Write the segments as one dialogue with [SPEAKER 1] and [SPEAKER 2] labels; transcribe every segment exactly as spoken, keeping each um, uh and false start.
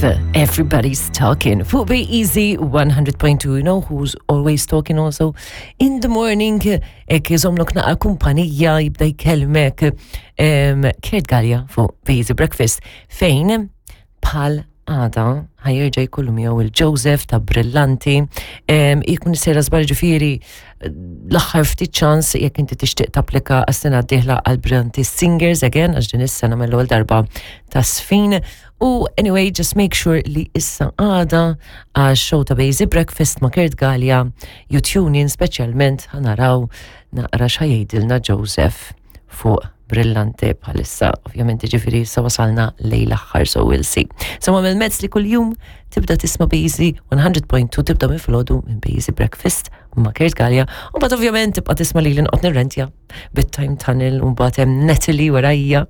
[SPEAKER 1] Five, Everybody's Talking. Fuq Bay Easy one hundred point two, you know who's always talking also in the morning, hekk iżommlok naqa kumpanija, jibda jkellmek um, Kurt Galea fuq Bay Easy Breakfast, fejn bħal għada ħa jerġa' jkollu miegħu il-Joseph ta' Brillanti, um, jkun sejra żbar, ġifieri l-aħħar ftit ċans jekk inti tixtieq tapplika għas-sena d-dieħla għal Brillanti Singers again, għax din is-sena mill-ewwel darba ta' sfin. U anyway, just make sure li issa għada għax show ta' Bejzi Breakfast ma' Kurt Galea, you tune in, speċjalment ħa naraw naqra x'ħa jgħidilna Joseph fuq Brillante bħalissa, ovvjament, ġifieri sa wasalna lejn l-aħħar, so we'll see. So għamil mezz li kull-jum tibda tisma' Bejzi one hundred point two, tibda minn filgħodu minn Bejzi Breakfast ma' Kurt Galea, u mbagħad ovvjament tibqa' tisma' li l-inqot nirrentja bit-Time Tunnel, u mbagħad hemm Natalie warajja.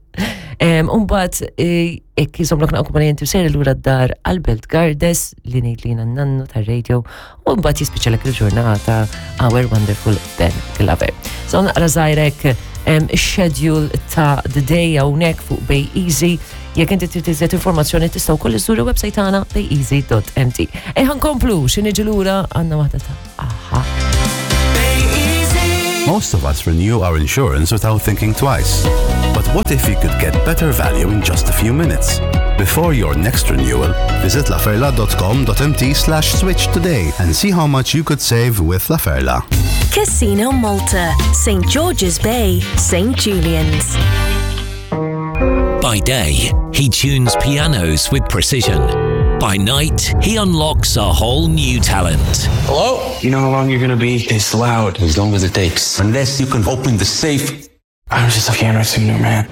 [SPEAKER 1] U mbagħad hekk iżommlok naqra kumpanija inti sejr lura d-dar għal-Belt Gardes li ngħid li nannu tar-radio, u mbagħad jispiċċalek il-ġurnata our wonderful Ben Glover. So naqra żgħirek schedule ta' the day hawnhekk fuq Bay Easy. Jekk inti trid iżjed informazzjoni, tistgħu wkoll iżżuru website tagħna bayeasy dot M T. Ejja ħa nkomplu, xi niġi lura għandna waħda ta' a-ha.
[SPEAKER 2] Most of us renew our insurance without thinking twice. But what if you could get better value in just a few minutes? Before your next renewal, visit laferla dot com dot M T slash switch today and see how much you could save with La Ferla.
[SPEAKER 3] Casino Malta, Saint George's Bay, Saint Julian's.
[SPEAKER 4] By day, he tunes pianos with precision. By night, he unlocks a whole new talent.
[SPEAKER 5] Hello? You know how long you're gonna be? It's loud.
[SPEAKER 6] As long as it takes. Unless you can open the safe.
[SPEAKER 5] I'm just a piano tuner, man.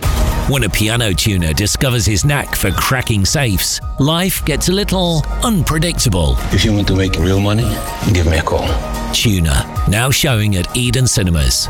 [SPEAKER 4] When a piano tuner discovers his knack for cracking safes, life gets a little unpredictable.
[SPEAKER 6] If you want to make real money, give me a call.
[SPEAKER 4] Tuner, now showing at Eden Cinemas.